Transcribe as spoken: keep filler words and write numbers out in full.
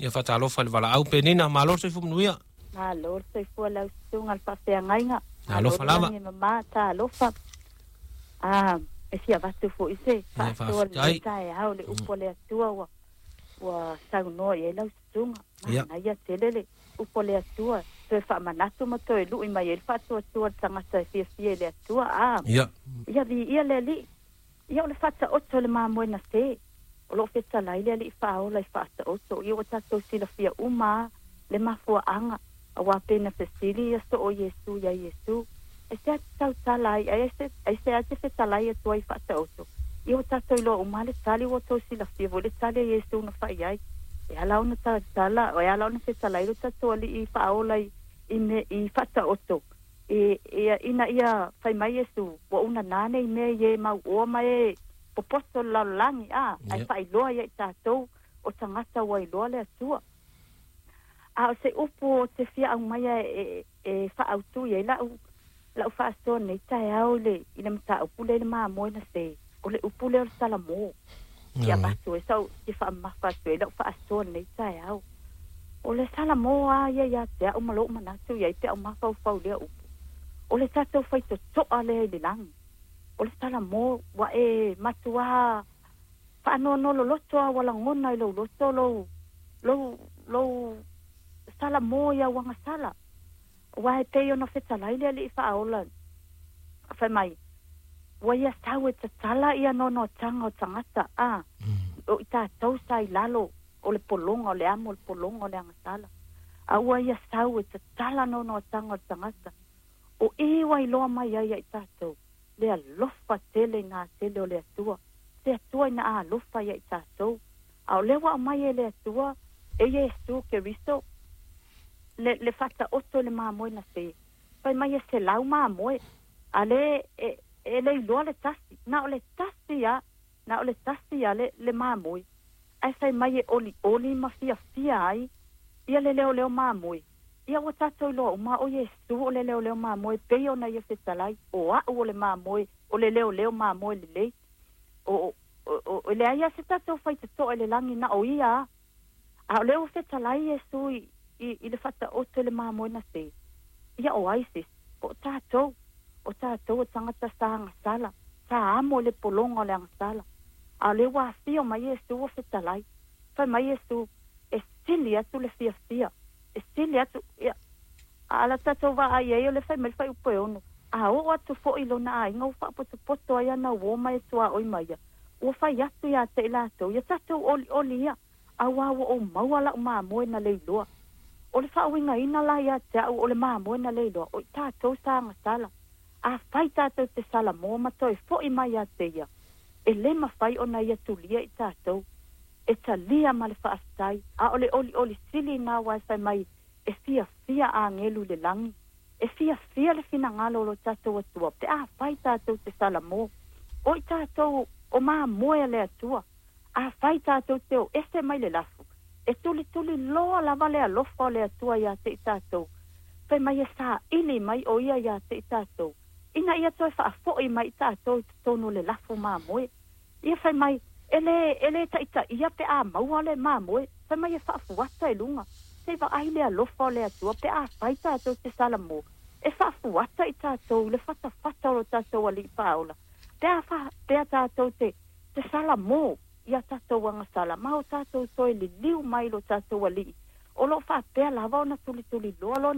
Ia faatalofa i le valaau Penina, malo le soifua manuia. Malo le soifua lau susuga le faafeagaiga. Alofa lava. Malo mama talofa. Ah, e fia avatu fo'i se faasoa le taeao le upu a le Atua ua ua saunoa i ai lau susuga. Manaia tele le upu a le Atua toe faamanatu ma toe lu'i mai ai le faatuatua le tagata e fiafia i le Atua. A ia viia le Alii. Ia o le faataoto le mamoe na se. O loo fetalai le Alii faaola i faataoto. Ia ua tatou silafia uma le mafuaaga auā pe na fesili ia soo Iesu iā Iesu. E se ate tautala ai ai se ai se ate fetalai atu ai faataoto. Ia ua tatou iloa uma le tali ua outou silafia foi le tali a Iesu na fai ai. E ala ona tautala, e ala ona fetalai lo tatou Alii faaola i i me i faataoto. E ia ina ia fai mai Iesu ua unanā nei mea i e mauoa ma e popoto le lalolagi a ae faailoa ia i tatou o tagata ua iloa le Atua. A o se upu o te fia aumaia e e faaautu i ai lau lau faasoa nei taeao i le i le mataupu lea i le mamoe na se o le upu lea o le salamo. Ia avatu ai sau te faamamafa atu ai lau faasoa nei taeao. O le salamo a ia ia te au ma lou manatu i ai pe au mafaufau lea upu. O le tatou faitotoa lea i le lagi. O le salamo ua e matuā faanoanoa loloto a ua lagona i lou loto lou lou lou salamo i au agasala. Aua e pei ona fetalai le Alii faaola fai mai ua ia sau e tatala ia noanoataga o tagata a o i tatou sa i lalo o le pologa o le amo o le pologa o le agasala. A ua ia sau e tatala noanoataga o le tagata. O i ua iloa mai ai ia i tatou le alofa tele i tele o le Atua. Se Atua ina alofa ia i tatou. A o lea ua aumai e le Atua e Iesu Keriso le le faataoto le mamoe na se. Fai mai e selau mamoe. A le e e le iloa le tasi. Na o le tasi a na o le tasi a le le mamoe. Ae fai mai e olioli ma fiafia ai ia le leoleo mamoe. Ia ua tatou iloa uma o Iesu o le leoleo mamoe pei ona ia fetalai o a'u o le mamoe o le leoleo mamoe lelei. O o o o leai a se tatou faitotoa i le lagi na o ia a. A o lea ua fetalai Iesu i i i le faataoto le mamoe na se. Ia o ai se o tatou o tatou o tagata sa agasala sa amo le pologa o le agasala. A o lea ua afio mai Iesu ua fetalai. Fai mai Iesu e sili atu le fiafia. E sili atu ia a la tatou vaai ai o le fai mai le fuaiupu e ono. A oo atu fo'i lona aiga ua faapotopoto ai ana uō ma e tuaoi mai ia. Ua fai atu iā te i latou ia tatou olioli ia. Auā ua ou maua lau mamoe na leiloa. O le faauigaina la ia te au o le mamoe na leiloa o i tatou sa agasala. A fai tatou te salamo ma toe fo'i mai ia te ia. E le mafai ona ia tulia i tatou. E talia ma le faafetai. A o le olioli sili na aua e fai mai e fiafia agelu i le lagi. E fiafia le finagalo o lo tatou Atua pe a fai tatou te salamo. O i tatou o mamoe a le Atua. A fai tatou te o ese mai le lafu. E tulituli loa lava le alofa o le Atua ia te i tatou. Fai mai e saili mai o ia ia te i tatou. Ina ia toe faafo'i mai i tatou i totonu o le lafu mamoe. Ia fai mai e le e le taitaia pe a maua le mamoe. Fai mai e faafuata i luga. Se vaai le alofa o le Atua pe a fai tatou te salamo. E faafuata i tatou le fatafata o lo tatou Alii faaola. Pe a fa pe a tatou te te salamo ia tatou agasala ma o tatou toe liliu mai lo tatou Alii. O loo faapea lava ona tulituliloa lona